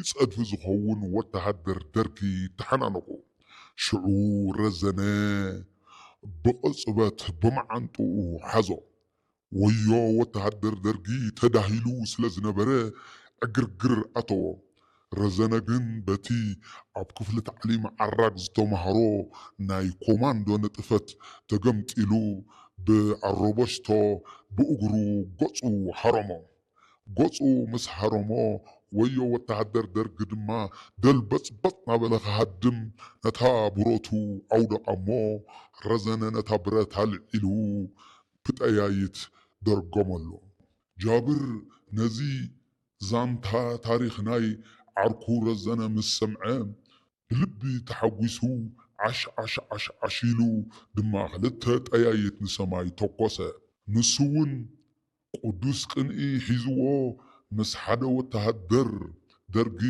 ጸድፊ ዝኸውን ወተሃደር ደርጊ ተሓናነቑ። ሽዑ ረዘነ ብቕጽበት ብመዓንጥኡ ሓዞ። ወዮ ወተሃደር ደርጊ ተዳሂሉ ስለ ዝነበረ ዕግርግር ኣተዎ። ረዘነ ግን በቲ ኣብ ክፍሊ ታዕሊም ዓራግ ዝተማህሮ ናይ ኮማንዶ ንጥፈት ተገምጢሉ ብኣሮበሽቶ ብእግሩ ገጹ ሃረሞ። ገጹ ምስ ሃረሞ ወዮ ወተሃደር ደርጊ ድማ ደልበጽበጽ ናበለ ክሃድም ነታ ብረቱ ኣውደቓ እሞ ረዘነ ነታ ብረት ኣልዒሉ ብጠያይት ደርገመሉ። ጃብር ነዚ ዛንታ ታሪኽ ናይ ዓርኩ ረዘነ ምስ ሰምዐ ብልቢ ተሓጒሱ ዓሽ ዓሽ ዓሽ ዓሽ ኢሉ ድማ ክልተ ጠያይት ንሰማይ ተኮሰ። ንሱ እውን ቅዱስ ቅንኢ ሒዝዎ ምስ ሓደ ወተሃደር ደርጊ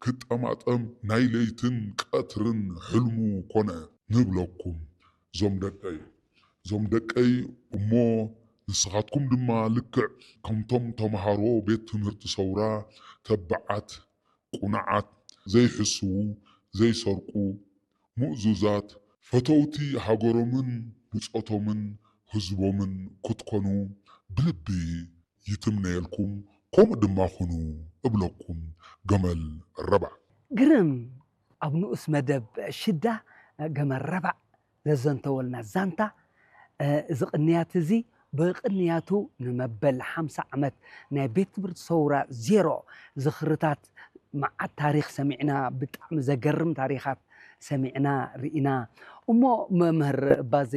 ክጠማጠም ናይ ለይትን ቀትርን ሕልሙ ኮነ። ንብለኩም ዞም ደቀይ ዞም ደቀይ እሞ ንስኻትኩም ድማ ልክዕ ከምቶም ተምሃሮ ቤት ትምህርቲ ሰውራ ተባዓት፣ ቁኑዓት፣ ዘይሕስዉ፣ ዘይሰርቁ፣ ምእዙዛት፣ ፈተውቲ ሃገሮምን ብጾቶምን ህዝቦምን ክትኮኑ ብልቢ ይትምነየልኩም፣ ከምኡ ድማ ኩኑ እብለኩም። ገመል ረባዕ። ግርም ኣብ ንኡስ መደብ ሽዳ ገመል ረባዕ ዘዘንተወልና ዛንታ፣ እዚ ቅንያት እዚ ብቕንያቱ ንመበል ሓምሳ ዓመት ናይ ቤት ትምህርቲ ሰውራ ዜሮ ዝኽርታት መዓት ታሪኽ ሰሚዕና፣ ብጣዕሚ ዘገርም ታሪኻት ሰሚዕና ርኢና። እሞ መምህር ባዜ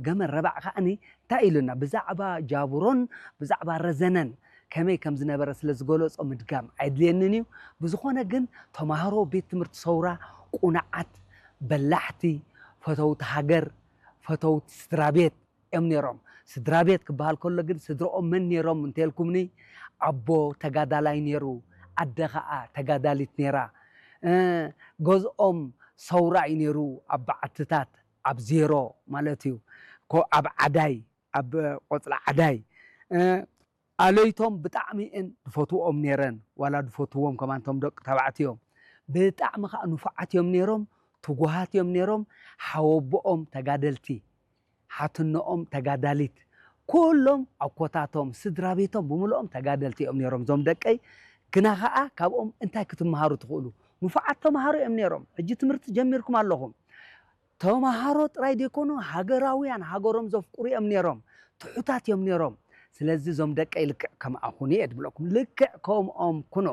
ገመል ረባዕ ከዓኒ እንታይ ኢሉና? ብዛዕባ ጃብሮን ብዛዕባ ረዘነን ከመይ ከም ዝነበረ ስለ ዝገለጾ ምድጋም ኣይድልየንን እዩ። ብዝኾነ ግን ተማሃሮ ቤት ትምህርቲ ሰውራ ቁኑዓት፣ በላሕቲ፣ ፈተውቲ ሃገር፣ ፈተውቲ ስድራ ቤት እዮም ነይሮም። ስድራ ቤት ክበሃል ከሎ ግን ስድራኦም መን ነይሮም እንተልኩምኒ፣ ኣቦ ተጋዳላይ ነይሩ፣ ኣደ ኸዓ ተጋዳሊት ነይራ። ገዝኦም ሰውራ እዩ ነይሩ፣ ኣብ በዓትታት ኣብ ዜሮ ማለት እዩ። ኣብ ዓዳይ ኣብ ቆፅሊ ዓዳይ ኣለይቶም ብጣዕሚ እን ድፈትዎም ነይረን። ዋላ ድፈትዎም ከማንቶም ደቂ ተባዕትዮም ብጣዕሚ ከዓ ንፉዓት እዮም ነይሮም፣ ትጉሃት እዮም ነይሮም። ሓወቦኦም ተጋደልቲ፣ ሓትነኦም ተጋዳሊት፣ ኩሎም ኣኮታቶም ስድራ ቤቶም ብምልኦም ተጋደልቲ እዮም ነይሮም። እዞም ደቀይ ግና ከዓ ካብኦም እንታይ ክትመሃሩ ትኽእሉ? ንፉዓት ተምሃሮ እዮም ነይሮም። ሕጂ ትምህርቲ ጀሚርኩም ኣለኹም። ተምሃሮ ጥራይ ዘይኮኑ ሃገራውያን፣ ሃገሮም ዘፍቅሩ እዮም ነይሮም። ትሑታት እዮም ነይሮም። ስለዚ እዞም ደቀይ ልክዕ ከምኣ ኩኑ እየ ድብለኩም። ልክዕ ከምኦም ኩኑ።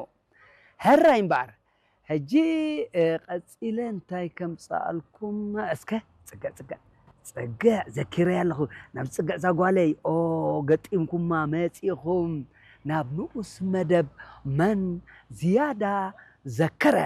ሕራይ እምበኣር ሕጂ ቀፂለ እንታይ ከምፀኣልኩም እስከ ፅግዕ ፅግዕ ፅግዕ ዘኪረ ኣለኹ። ናብ ፅግዕ ዛጓለይ ኦ ገጢምኩማ መፂኹም ናብ ንኡስ መደብ መን ዝያዳ ዘከረ።